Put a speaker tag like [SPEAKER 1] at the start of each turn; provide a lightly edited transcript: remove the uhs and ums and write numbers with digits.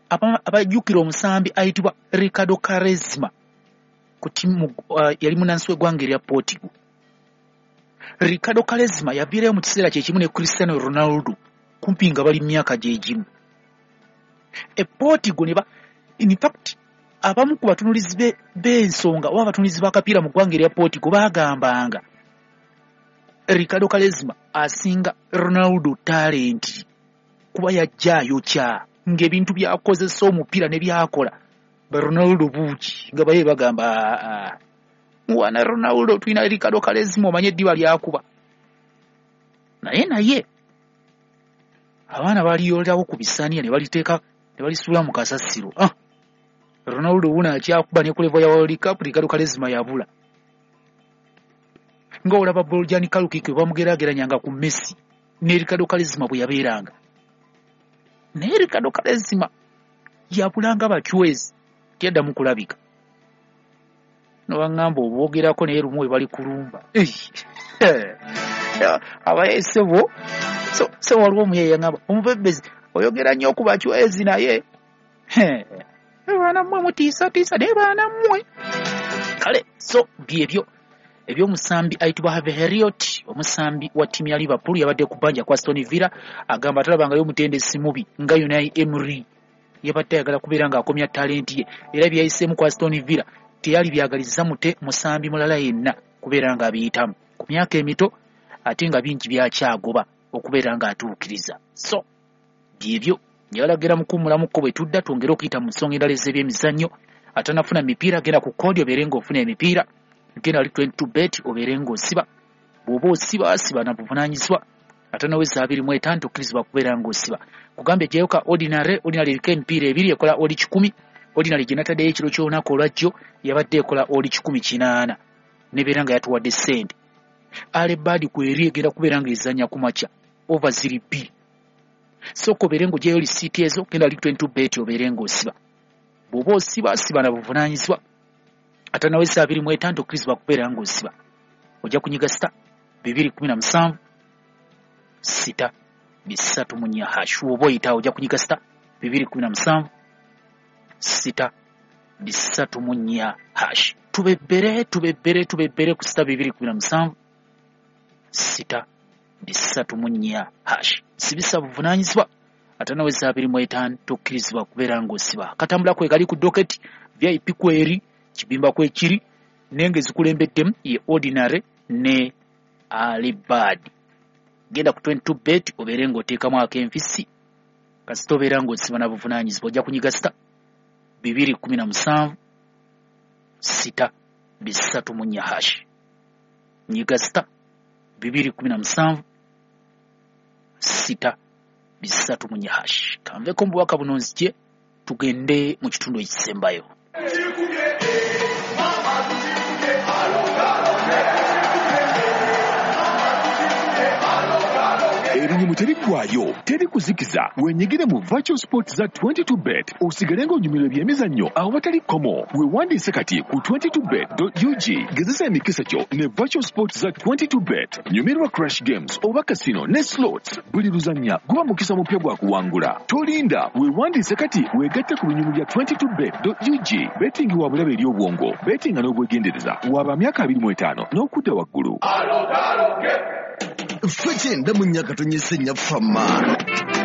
[SPEAKER 1] Abajjukira omusambi ayitibwa Ricardo Quaresma ku timu, yali munansi w'eggwanga erya Portugal. Ricardo Quaresma yaviirayo mu kiseera kye kimu ne Cristiano Ronaldo, kumpi nga bali myaka gye gimu e Portugal. Ne ba in fact abamu ku batunulizi b'ensonga oba abatunulizi b'akapiira mu ggwanga erya Portugal baagambanga Ricardo Quaresma asinga Ronaldo talent, kuba yajja ayokya ng'ebintu by'akozesa omupiira ne byakola ba Ronaldo buugi, nga baye bagamba, "Aa, muwana Ronaldo, tulina Ricardo Quaresma, omanye eddiba lyakuba." Naye abaana baliyolerawo ku bisaaniya ne baliteeka ne balisuula mu kasasiro. Ah, Ronaldo wuno akyakuba ne ku level ya World Cup, Ricardo Quaresma yabula. Nga olaba Bojan Krkić bamugeraageranyanga ku Messi ne Ricardo Quaresma bwe yabeeranga, naye Ricardo Quaresma yabulanga bacwezi, teyaddamu kulabika. Nobaŋŋamba obwogerako naye lumu we bali kulumba abaye sebo. So waliwo omuye yaŋŋamba, "Omubebezi oyogera nnyo ku bacwezi, naye baana mmwe mutiisatiisa, naye baana mmwe." Kale so byebyo ebyomusambi ayitibwa Harvey Elliott, omusambi wa ttiimu ya Liverpool, yabadde ku bbanja kwa Aston Villa. Agamba talabangayo omutendesi mubi nga Unai Emery. Yabadde ayagala kubeera ng'akomya talenti ye, era byeyayiseemu ku Aston Villa teyali byagaliza mute musambi mulala yenna kubeera ng'abiyitamu ku myaka emito, ate nga bingi byakyagoba okubeera ng'atuukiriza. So byebyo, njagala mukuwummulamukko, bwe tudda twongere okuyita mu nsonga endala ez'ebyemizannyo. Atanafuna mipiira, genda ku code obeere ng'ofuna emipiira. Genda ali 22 bet obeere ng'osiba. Bw'oba osiba, siba na buvunaanyizibwa. Atanaweza 25 tokkirizibwa kubeera ng'osiba. Kugambye ejjayo ka ordinary. Ordinary eriko emipiira ebiri, ekola odd 100. Ordinary gye nataddeyo ekiro ky'olunaku olwajjo yabadde ekola odd 180, nebeera nga yatuwadde ssente. Early bird kweri egenda kubeera ng'ezannya ku makya, over ziri 2. Sooka obeere ng'ogyayo lisiiti ezo, genda ali 22 bet obeere ng'osiba. Bw'oba osiba, siba na buvunaanyizibwa. Atanaweza 25 tokkirizibwa kubeera ng'osiba. Ojja kunyiga *217*304#. Oba oyitawo ojja kunyiga *217*304#. Tubebbere, tubebbere, tubebbere ku *217*304#. Sibisa buvunaanyizibwa. Atanaweza 25 tokkirizibwa kubeera ng'osiba. Katambula kwe kali ku docket, VIP kweri, kibimba kwekiri, naye nga ezikulembeddemu ye ordinary ne early bird. Genda ku 22 bet obeere ng'oteekamu ak'enfisi. Kasita obeera ng'osiba na buvunaanyizibwa. Ojja kunyiga *217*304#. Nyiga *217*304#. Kanveko mu bubaka buno, nzije tugende mu kitundu ekisembayo.
[SPEAKER 2] Ebinyumu teriggwayo, teri kuzikiza. Wenyigire mu virtual sport za 22 bet, osigale ng'onyumirwa ebyemizannyo awatali kkomo. Weewandiise kati ku 22bet.ug. Gezesa emikisa gyo ne virtual sport za 22 bet. Nyumirwa crash games oba casino ne slots. Buli luzannya guba mukisa mupya gwa kuwangula. Tolinda, weewandiise kati, weegatte ku binyumu bya 22bet.ug. Betting wa bulabe eri obwongo. Betinga n'obwegendereza. Waba myaka 25 n'okudda waggulu.
[SPEAKER 3] Ffe 94 fama.